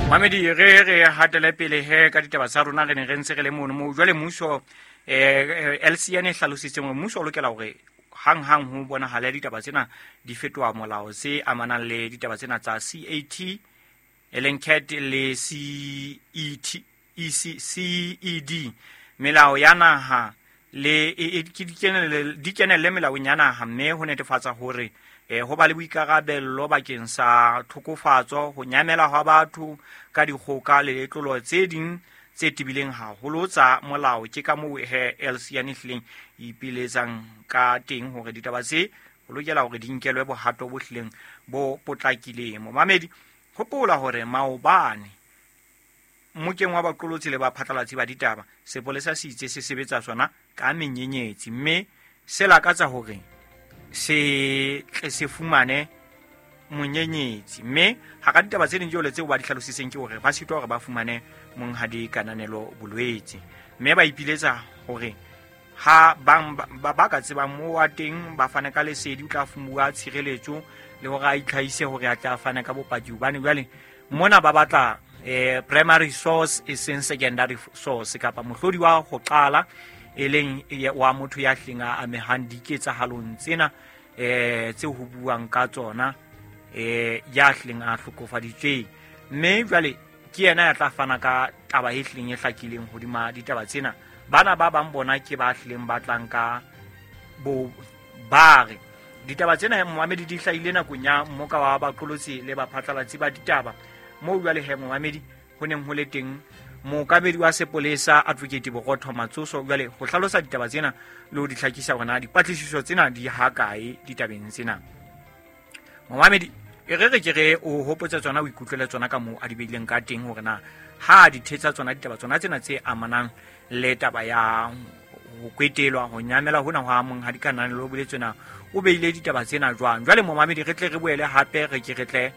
Mamedi, re hatele pele he ka ditaba tsa rona. Re ne re ntse re le mono moo jwale mmuso, LCN e hlalositseng hore mmuso o lokela hore hang-hang ho bonahale ditaba tsena di fetoha molao tse amanang le ditaba tsena tsa CAT, e leng CAT, le CET, EC, CED, melao ya naha le ke di kenelle melaong ya naha, mme ho netefatsa hore ho ba le boikarabello bakeng sa tlhokofatso, ho nyamela hwa batho ka dikgoka le letlolo tse ding tse tebileng haholo tsa molao. Ke ka moo he LCN e hlileng e ipiletsang ka teng hore ditaba tse ho lokela hore di nkelwe bohato bo hlileng bo potlakileng. Momamedi, hopola hore maobane mmokeng wa baqolotsi le baphatlalatsi ba ditaba, sepolesa se itse se sebetsa sona ka menyenyetsi, mme se lakatsa hore se tle se fumane monyenyetsi. Mme hara ditaba tse ding jole tseo ba di hlalositseng ke hore ba sitwa hore ba fumane monghadi Kananelo Bolwetse, mme ba ipiletsa hore ha bang ba ka tsebang moo wa teng ba fane ka lesedi, o tla fumuwa tshireletso le hore a itlhahise hore a tla fane ka bopaki, hobane jwale mona ba batla primary source e seng secondary source, kapa mohlodi wa ho qala e leng wa motho ya hleng a amehang diketsahalong tsena tse ho buang ka tsona, ya hleng a hlokofaditsweng, mme jwale ke yena ya tla fana ka taba e hlileng e hlakileng hodima ditaba tsena. Bana ba bang bona ke ba hlileng ba tlang ka bo ba re ditaba tsena, momamedi, di hlahile nakong ya mmoka wa baqolotsi le baphatlalatsi ba ditaba, moo jwale he, momamedi, ho neng ho le teng mookamedi wa sepolesa, Advocate Borotho Matsoso, jwale ho hlalosa ditaba tsena le ho di hlakisa hore na dipatlisiso tsena di hakae ditabeng tsena. Momamedi, e re re ke re o hopotse tsona, o ikutlwele tsona ka moo a di beileng ka teng, hore na ha di thetsa tsona ditaba tsona tsena tse amanang le taba ya ho kwetelwa, ho nyamela hona hwa monghadi Kananelo Boletswe, na o beile ditaba tsena jwang. Jwale, momamedi, re tle re boele hape re ke re tle.